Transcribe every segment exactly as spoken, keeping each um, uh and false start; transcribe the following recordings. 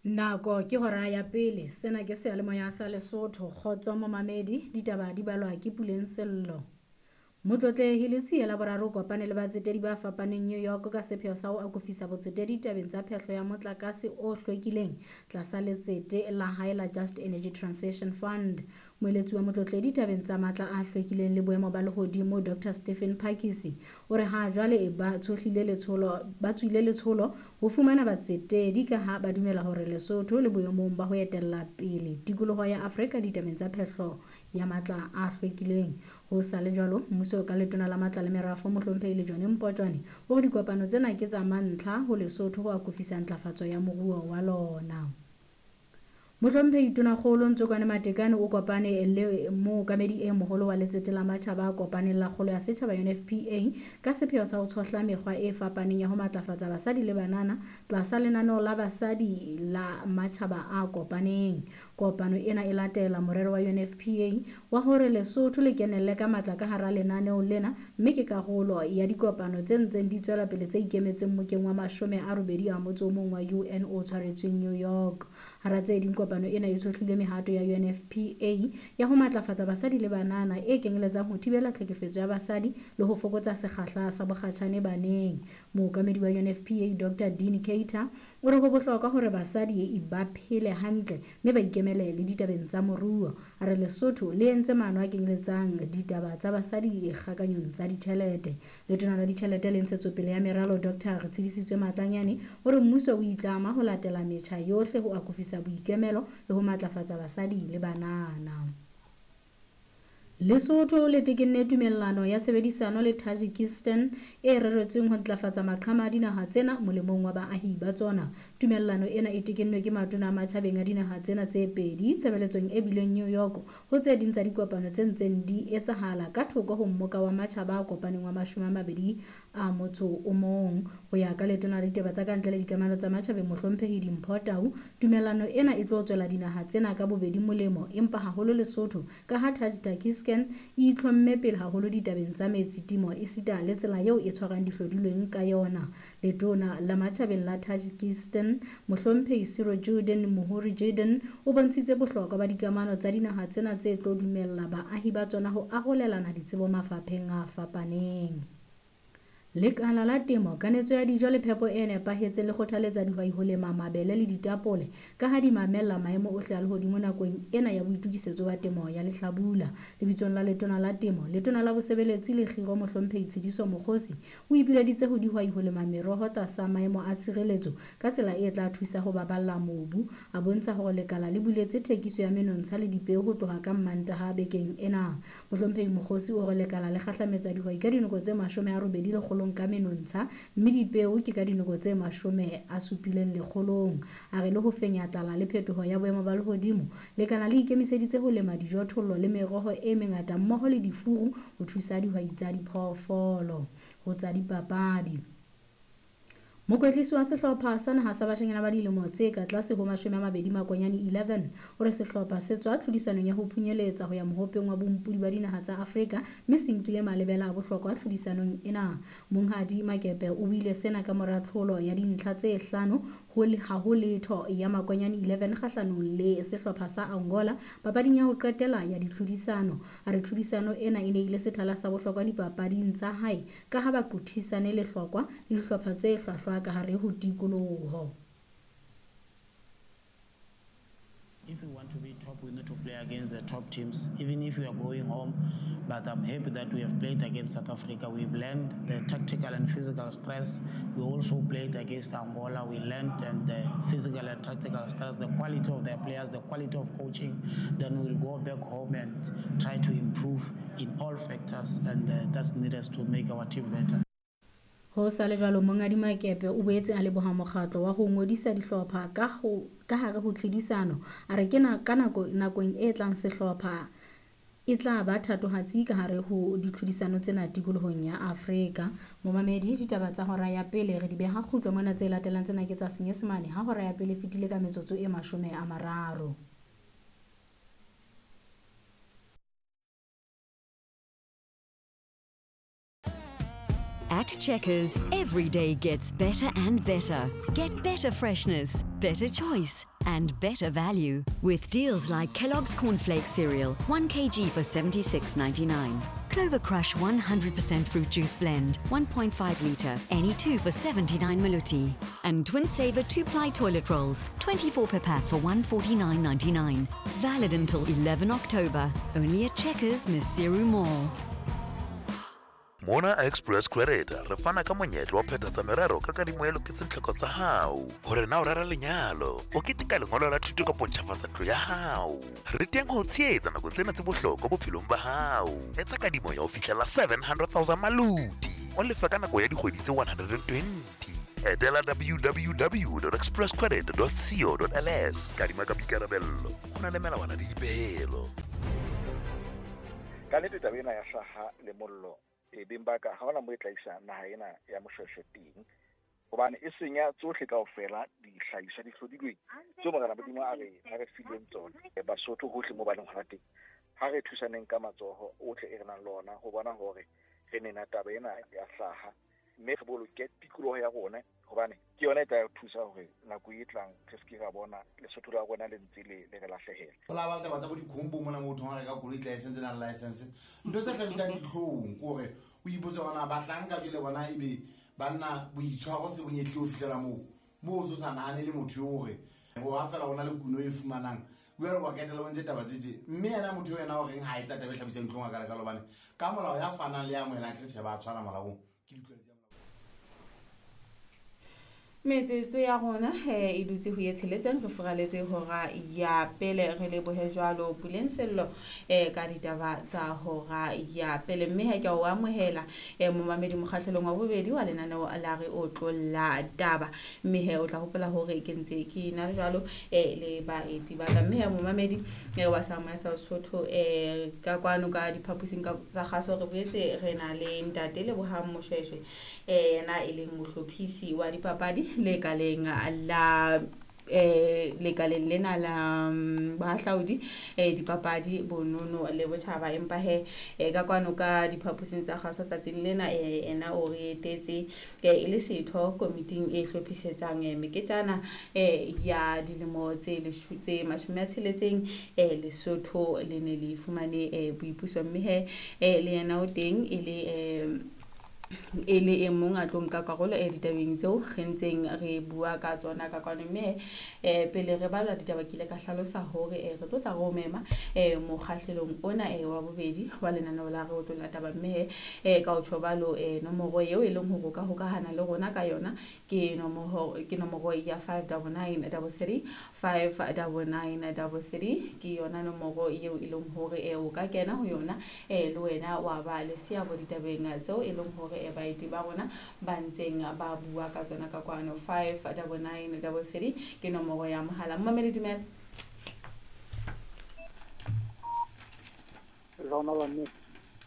Nako ke hora ya pele, sena ke seyalemoya sa Lesotho, kgotso momamedi, ditaba di balwa ke Puleng Sello. Motlotlehi Letsie la boraro o kopane le batsetedi ba fapaneng New York ka sepheo sa ho akofisa botsetedi tabeng tsa phehlo ya motlakase o hlwekileng tlasa letsete la hae la Just Energy Transition Fund. Moeletsi wa motlotlehi tabeng tsa matla a hlwekileng le boemo ba lehodimo Doctor Stephen Phakisi o re ha jwale ba tshohlile letsholo ba tswile letsholo ho fumana batsetedi ka ha ba dumela hore Lesotho le boemong ba ho etella pele tikoloho ya Afrika ditabeng tsa phehlo ya matla a hlwekileng. Ho sa le jwalo, mmuso ka letona la matla le merafo mohlomphehi Lejone Mpotjwane o re dikopano tsena ke tsa mantlha ho Lesotho ho akofisa ntlafatso ya moruo wa lona. Mohlomphehi Tonakgolo Ntsokwane Matekane o kopane le mookamedi e moholo wa letsete la matjhaba a kopaneng la kgolo ya setjhaba U N F P A ka sepheo sa ho tshohla mekgwa e fapaneng ya ho matlafatsa basadi le banana tlasa lenaneo la basadi la matjhaba a kopaneng. Kopano ena e latela morero wa U N F P A wa hore Lesotho le kenelle ka matla ka hara lenaneo lena, mme ke karolo ya dikopano tse ntseng di tswela pele tse ikemetseng mokeng wa mashome a robedi a motso o mong wa U N o tshwaretsweng New York. Hara tse ding kopano ena e tshohlile mehato ya U N F P A ya ho matlafatsa basadi le banana e kenyeletsang ho thibela tlhekefetso ya basadi le ho fokotsa sekgahla sa bokgatjhane baneng. Mookamedi wa U N F P A Doctor Dean Cater o re ho bohlokwa hore basadi ba phele hantle mme ba ikemele le ditabeng tsa moruo. A re Lesotho le entse maano a kenyeletsang ditaba tsa basadi kgakanyong tsa ditjhelete. Letona la ditjhelete le ntshetsopele ya meralo Doctor Retshidisitswe Matlanyane o re mmuso o itlama ho latela metjha yohle ho akofisa boikemelo le ho matlafatsa basadi le banana. Lesotho le tekenne tumellano ya tshebedisano le Tajikistan e reretsweng ho ntlafatsa maqhama a dinaha tsena molemong wa baahi ba tsona. Tumellano ena e tekennwe ke matona a matjhabeng a dinaha tsena tse pedi tshebeletsong e bileng New York ho tse ding tsa dikopano tse ntseng di etsahala ka thoko ho mmoka wa matjhaba a kopaneng wa mashome a mabedi a motso o mong. Ho ya ka letona la ditaba tsa kantle le dikamano tsa matjhabeng mohlomphehi Dimpho Tau, tumellano ena e tlo tswela dinaha tsena ka bobedi molemo, empa haholo Lesotho ka ha Tajikistan e itlhomme pele haholo ditabeng tsa metsi, temo esita le tsela eo e tshwarang dihlodilweng ka yona. Letona la matjhabeng la Tajikistan mohlomphehi Sirojiddin Muhrijiddin o bontshitse bohlokwa ba dikamano tsa dinaha tsena tse tlo dumella baahi ba tsona ho arolelana ditsebo mafapheng a fapaneng. Lekala la temo, kanetso ya dijo le phepo e nepahetseng le kgothaletsa dihwai ho lema mabele le ditapole ka ha di mamella maemo ohle a lehodimo nakong ena ya boitokisetso ba temo ya lehlabula. Lebitsong la letona la temo, letona la bosebeletsi le kgiro mohlomphehi Tshidiso Mokgosi o ipileditse ho dihwai ho lema meroho tlasa maemo a tshireletso ka tsela e tla thusa ho baballa mobu. A bontsha hore lekala le buletse thekiso ya menontsha le dipeo ho tloha ka Mmantaha bekeng ena. Mohlomphehi Mokgosi o re lekala le kgahlametsa dihwai ka dinako tse mashome a robedi lekgolo ka menontsha mme dipeo ke ka dinako tse mashome a supileng lekgolong. A re le ho fenya tlala le phetoho ya boemo ba lehodimo, lekala le ikemiseditse ho lema dijothollo le meroho e mengata mmoho le difuru ho thusa dihwai tsa diphoofolo. Ho tsa dipapadi, mokwetlisi wa sehlopha sa naha sa bashanyana ba dilemo tse ka tlase ho mashome a mabedi Makonyane eleven o re sehlopha se tswa tlhodisanong ya ho phunyeletsa ho ya mohopeng wa bompodi ba dinaha tsa Afrika mme se nkile malebela a bohlokwa tlhodisanong ena. Monghadi Makepe o buile sena ka mora tlholo ya dintlha tse hlano ho ha ho letho ya Makonyane eleven kgahlanong le sehlopha sa Angola papading ya ho qetela ya ditlhodisano. A re tlhodisano ena e ne ile sethala sa bohlokwa dipapading tsa hae ka ha ba qothisane lehlokwa le dihlopha tse hlwahlwa ka hare ho tikoloho. If we want to be top, we need to play against the top teams, even if we are going home. But I'm happy that we have played against South Africa. We've learned the tactical and physical stress. We also played against Angola. We learned and the physical and tactical stress, the quality of their players, the quality of coaching. Then we'll go back home and try to improve in all factors, and uh, that's needed to make our team better. Ho sa le jwalo, Monghadi Makepe o boetse a leboha mokgatlo wa ho ngodisa dihlopha ka ho ka hare ho tlhodisano. A re ke na ka nako nakong e tlang sehlopha e tla ba thatohatsi ka hare ho ditlhodisano tsena tikolohong ya Afrika. Momamedi, ditaba tsa hora ya pele re di beha kgutlo mona, tse latelang tsena ke tsa Senyesemane ha hora ya pele fetile ka metsotso e mashome a mararo. At Checkers, every day gets better and better. Get better freshness, better choice, And better value with deals like Kellogg's Cornflakes cereal, one kilogram for seventy-six ninety-nine. Clover Crush one hundred percent fruit juice blend, one point five litre, any two for seventy-nine maluti. And Twin Saver two-ply toilet rolls, twenty-four per pack for one forty-nine ninety-nine. Valid until eleven October. Only at Checkers, Maseru Mall. Mona Express Credit re fana ka monyetla wa phethatsa merero ka kadimo e loketseng tlhoko tsa hao. Hore na o rera lenyalo, o keteka lengolo la thuto kapa o ntjhafatsa ntlo ya hao. Re teng ho tshehetsa nakong tsena tse bohlokwa bophelong ba hao. Etsa kadimo ya ho fihlela seven hundred thousand maluti. O lefa ka nako ya dikgwedi tse one hundred and twenty. Etela w w w dot express credit dot co dot l s. Kadima ka boikarabello. Ho na le melawana le dipehelo. Ka nnete taba ena ya hlaha le mollo e beng ba ka ha hona mo e tla isa naha ena ya Moshweshwe teng, hobane e senya tsohle kaofela dihlahiswa di hlodilweng tseo Morena Modimo a re a re fileng tsona. Basotho hohle mo ba leng hona teng, ha re thusaneng ka matsoho ohle e re nang le ona ho bona hore re nena taba ena ya hlaha, mme re boloke tikoloho ya rona, hobane ke yona e tla re thusa hore nako e tlang re se ke ra bona Lesotho la rona le ntse le le re lahlehela. Ho la ba le taba tsa bo dikhombo mona motho ha reka koloi license na license ntho tse hlabisang dihlong ke hore o ipotse hore na bahlanka jwale bona ebe banna boitshwaro se bonyehle ho fihlela moo moo o so sa nahane le motho eo hore ho ha fela hona le kuno e fumanang jwale wa ketela o ntse taba tse tje mme yena motho yena o reng ha etsa taba e hlabisang dihlong a ka le hobane ka molao ya fanang le ya amohelang ke tjhe ba tshwana molaong ke ditlwaelo. Metsotso ya rona e dutse ho ye tsheletseng re furaletse hora ya pele re lebohe jwalo Puleng Sello ka ditaba tsa hora ya pele mme ha ke o amohela momamedi mokgahlelong wa bobedi wa lenaneo la re otlolla taba mme he o tla hopola hore ke ntse ke na jwalo le baeti ba ka mme he momamedi wa Sama sa Sotho ka kwano ka diphaposing tsa kgaso re boetse re na le ntate Lebohang Moshweshwe yena e leng mohlophisi wa dipapadi lekaleng la eh lekaleng lena la bahlaodi eh dipapadi bonono le botjhaba empa he ka kwano ka diphaposing tsa kgaso tsatsing lena ena o re etetse e le setho komiting e hlophisetsang meketjana ya dilemo tse tse mashome a tsheletseng Lesotho le ne le fumane boipuso mme he le yena o teng e le e le e mong a tlo nka karolo e ditabeng tseo re ntseng re bua ka tsona ka kwano mme eh pele re balwa ditaba ke ile ka hlalosa hore re tlo tla re o mema eh mokgahlelong ona e wa bobedi wa lenaneo la re otlolla taba mme eh ka o tjhobalo eh nomoro eo e leng hore o ka hokahana le rona ka yona ke nomoro ke nomoro ya five nine nine three five nine nine three ke yona nomoro eo e leng hore e o ka kena ho yona eh le wena wa ba le seabo ditabeng tseo e leng hore baeti ba rona ba ntseng ba bua ka tsona ka kwano five nine nine three ke nomoro ya mohala. Mmamedi dumela. Rona ba mme.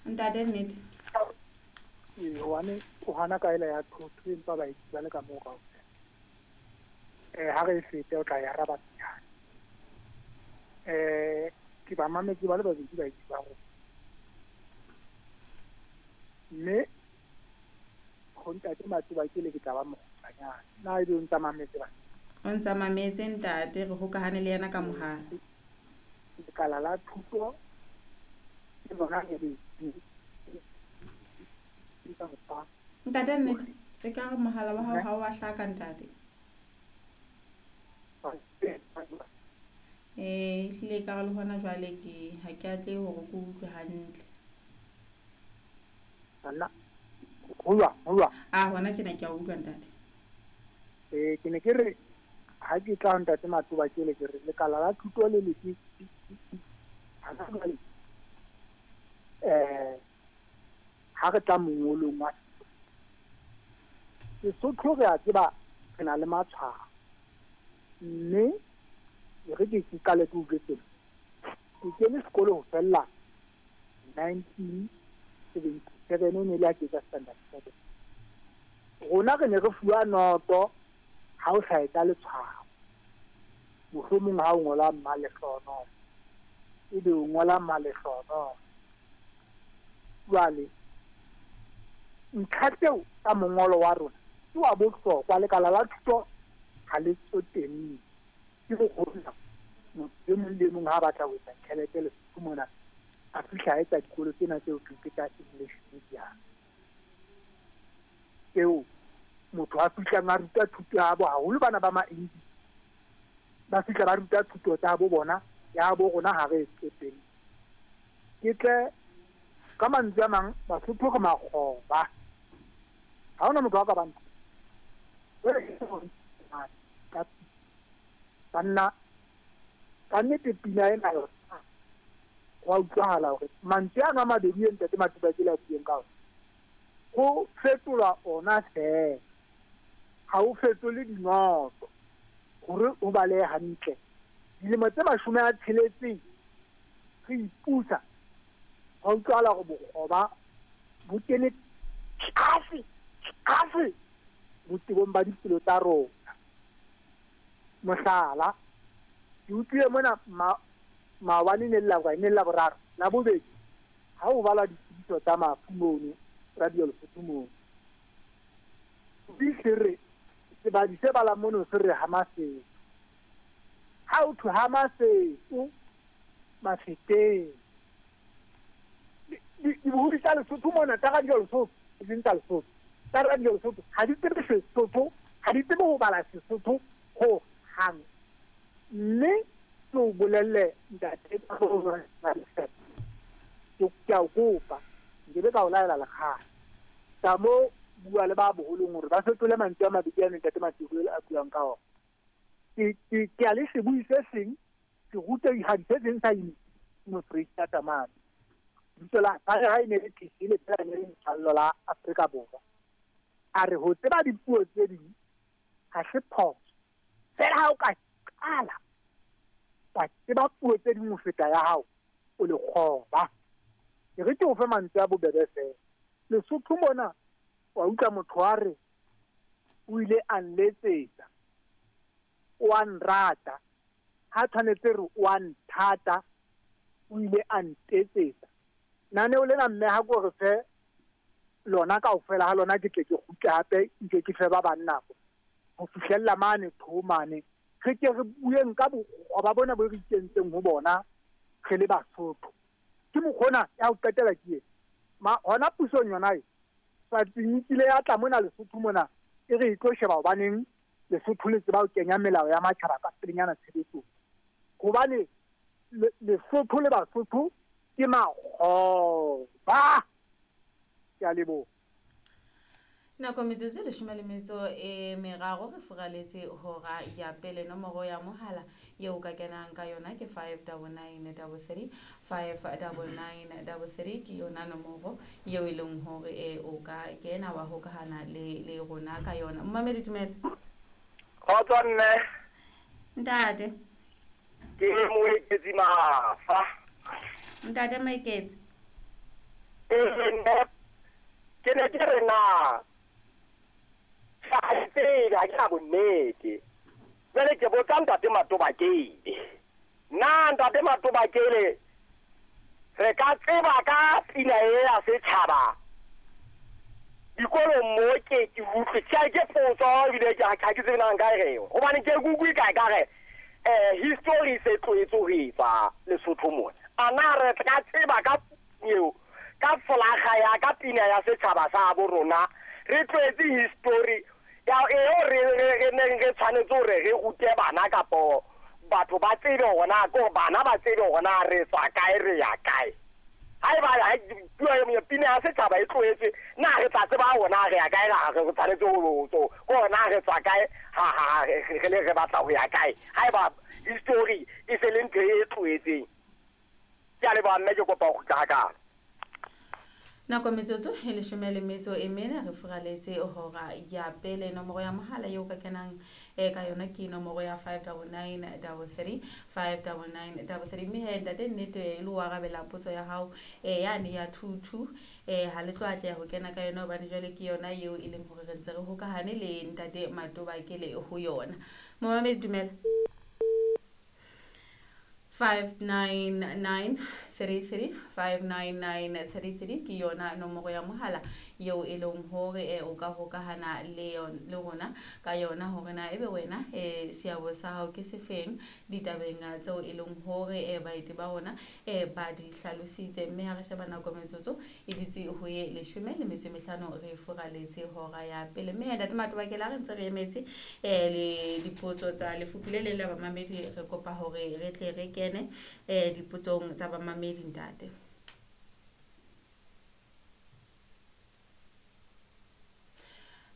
Ntate nnete. Ee, hobane o hana ka ela ya thotho empa baeti ba le ka moo kaofela. Eh ha re fete o tla ya araba pejana. Eh ke ba mametse ba le babedi baeti ba rona. Mme ho ntate Matsoba ke le ke tla ba mokgutshwanyane. Na ebe o ntsa mametse bana? O ntsa mametse ntate, re hokahane le yena ka mohala. Lekala la thuto ke lona le le Ntate nnete, re ka re mohala wa hao ha o a hlaka ntate. Eh ehlile ka re le hona jwale ke ha ke atle hore ke utlwe hantle. Nna ho jwang? Ah hona tjena ke a utlwa ntate. Eh ke ne ke re ha ke tla ntate Matsoba ke le ke re lekala la thuto le le ke ha jwale eh ha re tla mongolong wa Sesotho re a tseba re na le matshwao mme re ke ke qale ke utlwe tsena. Ke kene sekolo ho fella nineteen seventy-seven e ne le ha ke etsa standard seven. Rona re ne re fuwa noto ha o sa etsa letshwao. Mohlomong ha o ngola Mmalehlono ebe o ngola Mmalehlono. Jwale ntlha tseo tsa mongolo wa rona ke wa bohlokwa lekala la thuto ha le tsotelle. Ke mokgona motho e mong le mong ha batla ho etsa tjhelete Lesotho mona a fihla a etsa dikolo tsena tseo ke tsa English medium. Eo motho a fihlang a ruta thuto ya bo haholo bana ba ma-English ba fihla ba ruta thuto tsa bo bona ya bo rona ha re e tsotelle. Ke tle ka mantswe a mang Basotho re makgoba. Ha hona motho a ka bang banna ka nnete pina ena yona ho a utlwahala hore mantswe ana a mabedi e ntate Matubakele a bueng ka ona ho fetolwa ona feela, ha o fetole dinoto hore o balehe hantle. Dilemo tse mashome a tsheletseng re ipusa, ho utlwahala hore bokgoba bo kene tlase tlase botebong ba dipelo tsa rona. Mohlala, ke utlwile mona maobane ne le la ne le la boraro la bobedi ha o bala ditsebiso tsa mafu mono radio Lesotho mono di se re sebadi se bala mono se re ha Maseru. Ha o thwe ha Maseru Mafeteng dibohodi tsa Lesotho mona tsa radio Lesotho e seng tsa Lesotho tsa radio Lesotho ha di tsebe Sesotho, ha di tsebe ho bala Sesotho ho hang. Mme ke o bolelle ntate ke a o kopa nkebe ka o laela lekgale ka mo bua le ba boholong hore ba fetole mantswe a mabedi a ntate Matubakele a buang ka ona. Ke ke a le sebui se seng ke rutehadi se seng sa Mofreistata mane. Lebitso la hae ha e ne le Thesele fela ne le letshwallo la Afrika Borwa. A re ho tseba dipuo tse ding ha se phoso. Fela ha o ka qala wa tseba puo tse ding ho feta ya hao o lekgoba. E re ke o fe mantswe a bobebe fela. Lesotho mona wa utlwa motho a re o ile a nletsetsa, o a nrata, ha tshwanetse re o a nthata, o ile a ntetsetsa. Naneo lena mme ha ko re fe lona kaofela ha lona ke tle ke kgutle hape nke ke fe ba bang nako ho fihlella mane tho mane re ke re bueng ka bokgoba bona bo re ikentseng ho bona re le Basotho. Ke mokgona ya ho qetela ke ena hona pusong yona e Swatsing kile ya tla mona Lesotho mona e re e tlo sheba hobaneng Lesotho le tseba ho kenya melao ya matjhaba ka pelenyana tshebetsong. Hobane Lesotho le Basotho ke makgoba. Ke a leboha. Nako metsotso leshome le metso e meraro re furaletse hora ya pele. Nomoro ya mohala eo ka kenang ka yona ke five double nine double three five double nine double three ke yona nomoro eo e leng hore e o ka kena wa hokahana le le rona ka yona. Mmamedi dumela. Kgotso mme. Ntate. Ke Moeketsi Mafa. Ntate Moeketsi. Eh nne ke ne ke re na ha ke na bonnete. Jwale ke botsa ntate Matobakele. Na ntate Matobakele re ka tseba ka pina e ya setjhaba dikolong mo ke ke utlwe tjhe ke potso ebile ke ha ke tsebe na nka e reng hobane ke kutlwe kae ka re eh history se tlohetse ho etsa Lesotho mona. A na re ka tseba ka eo ka folaga ya ka pina ya setjhaba sa bo rona re tlohetse history ya eo re re neng re tshwanetse hore re rute bana kapo batho ba tsebe hore na ko bana ba tsebe hore na re tswa kae re ya kae. Haeba puo ya pina ya setjhaba e tlohetse na re tla tseba hore na re ya kae ra re tshwanetse ho ho hore na re tswa kae ha ha re le re batla ho ya kae haeba history e se le ntho e tlohetseng. Ke a leboha mme ke kopa ho kgutla hakalo. Nako metsotso e leshome le metso e mene re furaletse hora ya pele. Nomoro ya mohala eo ka kenang e ka yona ke nomoro ya five double nine double three five double nine double three. Mme he ntate nnete e le o arabela potso ya hao e yane ya two two e ha le tlo atleha ho kena ka yona hobane jwale ke yona eo e leng hore re ntse re hokahane le ntate Matobakele ho yona. Momamedi dumela. Five nine nine three three five nine nine three three ke yona nomoro ya mohala eo e leng hore eh, o ka hokahana le le rona ka yona hore na ebe wena eh, seabo sa hao ke sefeng ditabeng tseo e leng hore eh, baeti ba rona eh, ba di hlalositse. Mme ha re sheba nako metsotso e dutse ho ye leshome le metso e mehlano re furaletse hora ya pele. Mme ntate Matobakele ha re ntse re emetse eh, le dipotso tsa lefuphu le leng la bamamedi, re kopa hore re tle re kene eh, dipotsong tsa bamamedi ntate.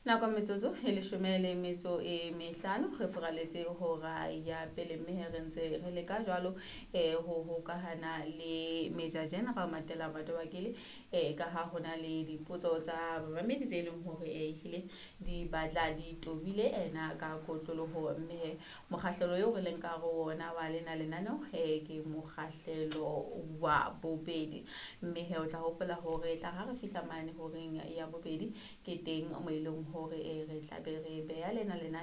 Nako metsotso e leshome le metso e mehlano re furaletse hora ya pele, mme re ntse re leka jwalo eh ho hokahana le Major General Matela Matobakele eh ka ha hona le dipotso tsa bamamedi tse leng hore eh ehlile di batla di tobile ena ka kotloloho. Mme mokgahlelo eo re leng ka ho ona wa lena lenaneo eh ke mokgahlelo wa bobedi, mme he o tla hopola hore tla ha re fihla mane horeng ya bobedi ke teng mo e leng hore re tla be re beha lena lena